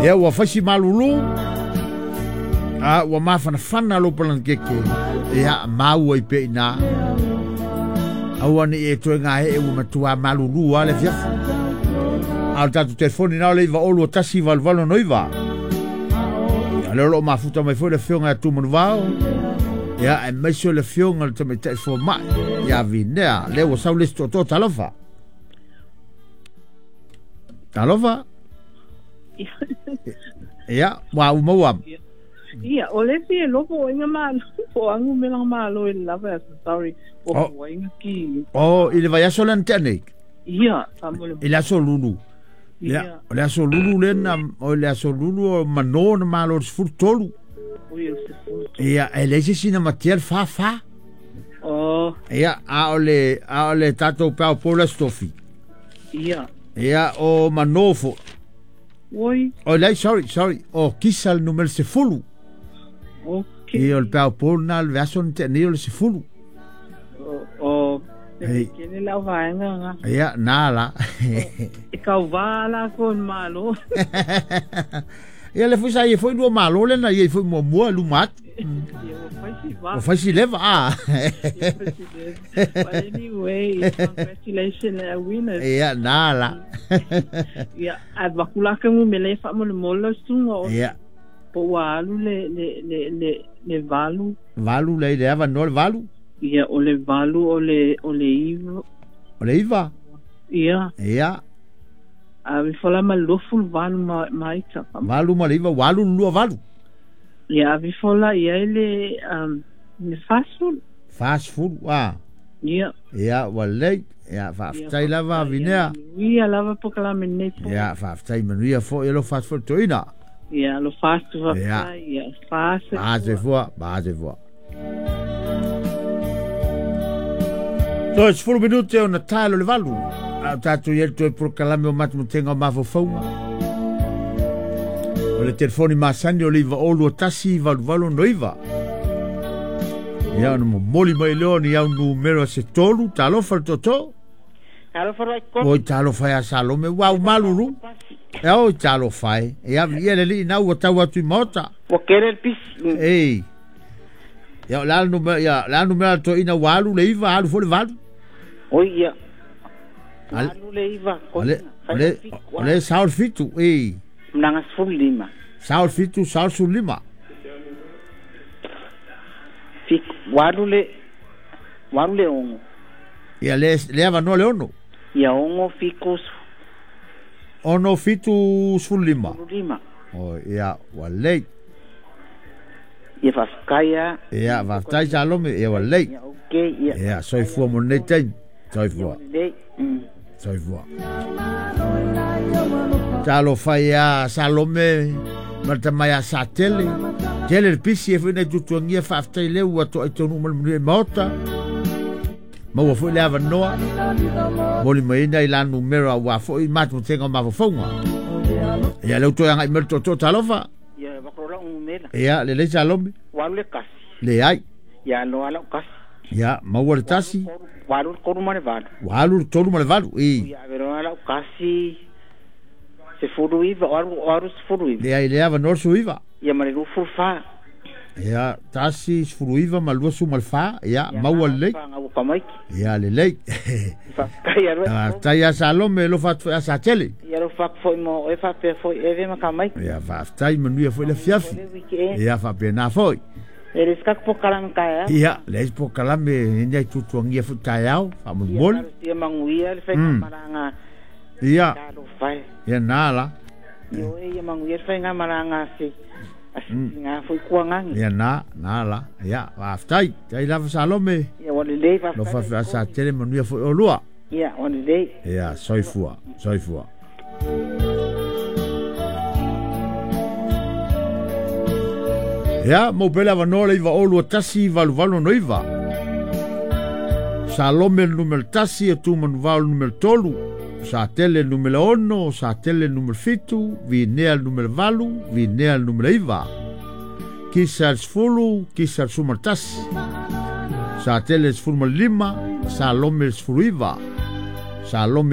Ia ua faisi malulu. A ua mafanafana lo palanakeke. Ia maua i pe ina. Aua ni e toe ngā e ua matua malulu a le fiafi. A o tātou telefoni nā o le 9 2 1 8 8 9. Ia leo lo mafuta mai foi le fionga a Tumanuvao. Ia e maise o le fionga le tamaitai fua mai. Ia vinea, lea ua sau le isi toatoa talofa. Talofa. Ia, ua umaua. Ia, o le fia lofo o inga malo, po angu me langa malo i lava, sorry, o Oh. oh. inga ki. O, i le vai aso lena tea nei. Ia, fa mo le. I le aso lulu. Ia, o le aso lulu lena, o le aso lulu o mano na malo le 13. O ia se fu. Ia, e leai se sina matea le fa fa. Oh, Ia, a o le tātou pao pola stofi. Ia, o manofo. Oi, O leai, sorry, sorry. O kisa le numero 10. Okay. Ia, o le pao pola na le aso na tea nei o le 10. O, o, Ei. ke le lau vaenga nga. Ia, nā la. E kau vā la ko malo. Ia le foi sa ia foi lua malo lena, ia foi mua mua luma atu. Ia, o fai si vā. O fai si leva, ah. Ia, fai si leva. But anyway, congratulations our winners. Ia, nā la. Ia, a vakulaka mu mele fa mo le mola sunga o po ua alu le 8. 8 le le ava no le 8. Ia, o le 8 o le 9. O le 9. Ia, Ia, a vi fola ma 28 ma ita. 8 ma le 9, 8 lua 8. Ia, a vi fola ia i le 40. 40, ah. Ia. Ia, ua lei. Ia, faafetai lava vinea. Ia lava po kala me nei po. Ia, faafetai manuia foi e lo fasi toina. Ia, lo fasu Ia. fa. Ia, fasu. Ba se fua, ba se fua. Toe 10 minute o na taelo le 8. A o tātou i toe prokalame o matumatenga o mafaufauga. O le telefoni masani o le 9 2 1 8 8 9. Ia, ona momoli mai leo ni au numero se tolu, talofa le toto. Alo faro ai ko. Oi talofa ia Salome, ua umalulu. E oi talofa e. Ia ia le li na ua tau atu i maota. Ua kere le pisi. Ei. Ia la numero ia la numero to ina walu le iva alu fo le valu. Oi ia. Ale Alu le 9. ale ale ale saul 7 ei. Mnanga 15. Saul 7 saul 15. Fik 8 le 8 le 6. Ia le le ava no le 6. Ia 6 fiku 6 7 15. 15. O ia ua lei. Ia faafetai. Ia faafetai Salome ia ua lei. Ia okay ia. Ia soifua mo lenei taimi. Soifua. Le. Soifua. Talofa ia Salome ma le tamaia sa tele. Tele le pisi e foi nei tutuagia faafetai leu ua toai tonu ma le manuia i maota. Maua foi le avanoa. Moli mai ina i la numero ua foi matumatega o mafaufauga. Ia leu toe agai mai le toatoa talofa. Ia bakro la umela. Ia lelei Salome. 8 le 1. Leai. Ia lo ala 1. Ia maua le 1. 8 le 3 ma le 8. Ua alu le 3 ma le 8. I. Ia vero ala 1. 19 8 8 19. Leai le avanoa le 19. Ia ma le 24. Ia 1 19 ma 24. Ia maua lelei. Nga ua kamaiki. Ia lelei. Faafetai alo. Faafetai ia Salome lo faatu ia sa tele. Ia lo fak foi mo e fa pe foi e ve ma kamaiki. Ia faafetai manuia foi le fiafi. Le weekend. Ia faapena foi. E le skak po kalam ka ya. Ia le isi pokalame ina i tutuagia foi taeao faamolemole. Ia manguia le fai malanga. Ia. Ka lo fai. Ia nā la. Io e ia manguia le fai malanga se. Asi nga foi kuangangi. Ia nā nā la. Ia faafetai. Tai lava Salome. Ia wa le le fa. Lo faafetai sa tele manuia foi o lua. Ia wa le le. Ia soifua, soifua. Ia, mau pele avanoa le 9 2 1 8 8 9. Salome le numero 1, e Tumanuvao le numero 3, Sa tele le numero 6, Sa tele le numero 7, Vinea le numero 8, Vinea le numero 9. Kisa le 10, Kisa le 11. Sa tele le 15, Salome le 19. Salome